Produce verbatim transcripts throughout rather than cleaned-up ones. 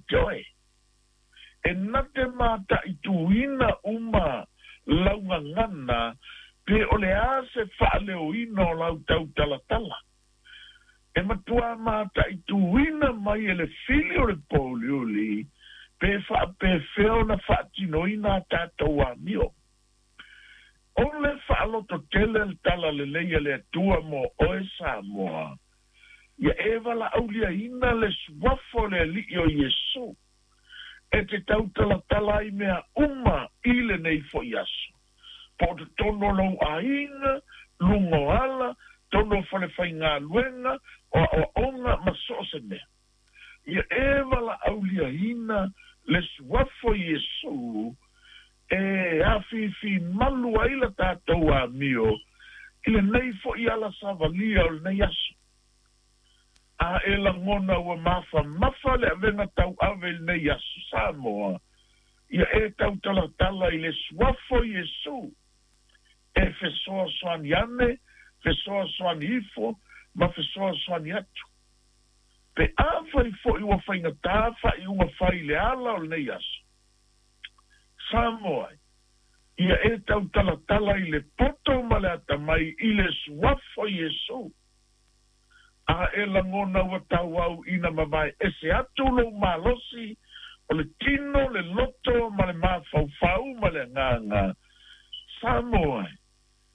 te oe. E na te mataituina uma laugagana pe o le a se faaleoina o lau tautalatala. E matuā mataituina mai e le fili o le pouliuli pe faapefea ona faatinoina a tatou amio. O le faalototele le tala lelei a le Atua mo oe Samoa, ia e valaauliaina le suafa o le Alii o Iesu, e te tautalatala ai mea uma i lenei foi aso. Po o totonu o lou aiga, luga o ala, tonu o falefaigaluega, o aoaoga ma so o se mea. Ia e valaauliaina le suafa o Iesu e afifimalu ai la tatou amio i lenei foi ala savalia o lenei aso. A e lagona ua mafamafa le avega tauave i lenei aso Samoa, ia e tautalatala i le suafa o Iesu e fesoasoani ane, fesoasoani ifo, ma fesoasoani atu. Pe afai foi ua faigata faaiuga fai i le ala o lenei aso Samoa, ia e tautalatala i le poto ma le atamai i le suafa o Iesu. A e lagona ua tauau ina mavae ese atu lou malosi o le tino, le loto ma le mafaufau ma le agaga Samoa,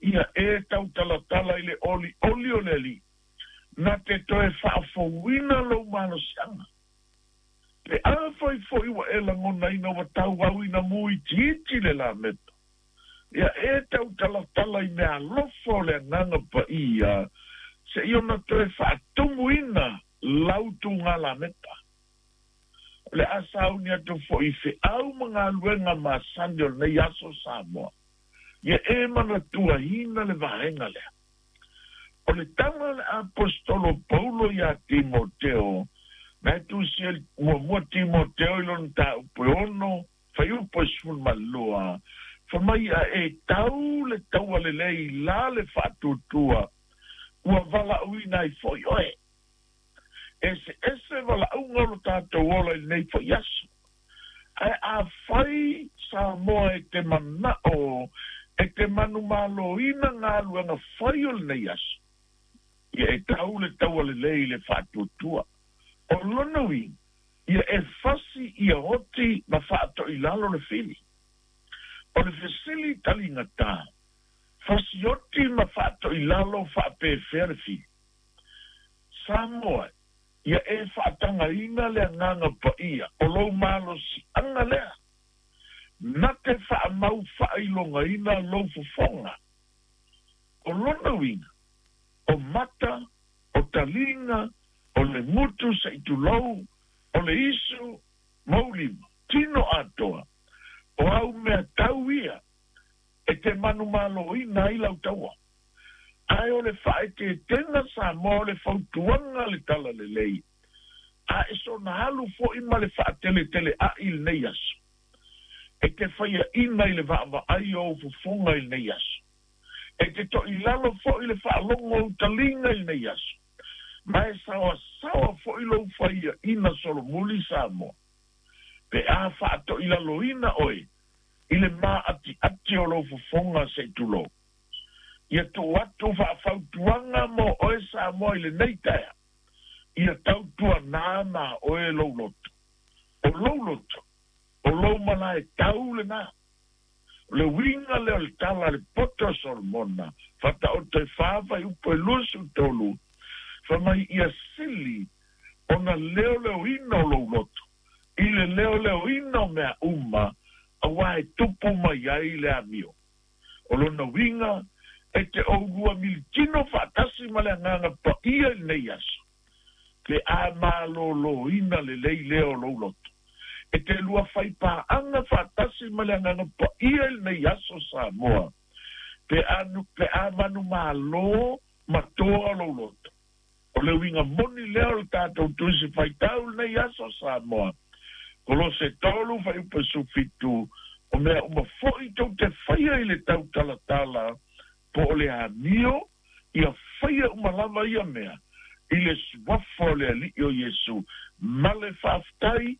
ia e tautalatala i le olioli o le Alii na te toe faafouina lou malosiaga. Pe afai foi ua e lagonaina ua tauau ina muitiiti le lamepa, ia e tautalatala i mea alofa o le Agaga Paia seia ona toe faatumuina lau tuga lamepa. O le a sauni atu foi i feau ma galuega masani o lenei aso Samoa, ia e manatuaina le vaega lea. O le tala a le Aposetolo Paulo ia Timoteo, na e tusia muamua Timoteo i lona mataupu e ono, fuaiupu e sefulu ma lua, fai mai a e tau le taua lelei la le faatuatua, ua valaauina ai foi oe. Eseese valaauga o lo tatou ola i lenei foi aso. Ae afai Samoa e te manao e te manumaloina galuega fai o lenei aso, ia e tau le taua lelei i le faatuatua. O lona uiga, ia e fasi ia oti ma faatoilalo le fili. O le fesili taligata, fasi oti ma faatoilalo faapefea le fili. Samoa, ia e faatagaina le Agaga Paia o lou malosiaga lea, na te faamau faailogaina lou fofoga. O lona uiga, o mata, o taliga, o le gutu se'i tulou, o le isu ma ou lima, tino atoa, o au mea tau ia e te manumaloina ai lau taua. Ae o le faaeteetega Samoa o le fautuaga le talalelei, a e soona alu foi ma le faateleteleai i lenei aso. E te faiaina i le vaavaai o ou fofoga i lenei aso. E te toilalo foi le faalogo o ou taliga i lenei aso. Ma e saoasaoa foi lou faiaina solomuli Samoa. Pe a faatoilaloina oe i le maatiati o lou fofoga se'i tulou. Ia tuu atu faafautuaga mo oe Samoa i lenei taeao, ia tautuanā ma oe lou loto. O lou loto, o lou malae tau lenā. O le uiga lea o le tala a le poto a Solomona, Faataoto e fa fuaiupu e luasefulu tolu, fai mai ia sili ona leoleoina o lou loto i le leoleoina o mea uma, auā e tupu mai ai le amio. O lona uiga, e te oulua militino faatasi ma le Agaga Paia i lenei aso, pe a malōlōina lelei lea o lou loto. E te lua faipaaga faatasi ma le Agaga Paia i lenei aso Samoa, pe a, pe a manumalo ma toa lou loto. O le uiga moni lea o le tatou Tusi Faitau i lenei aso Samoa, Kolose tolu fuaiupu e sefulufitu, o mea uma foi tou te faia i le tautalatala po o le amio, ia faia uma lava ia mea i le suafa o le Alii o Iesu, ma le faafetai.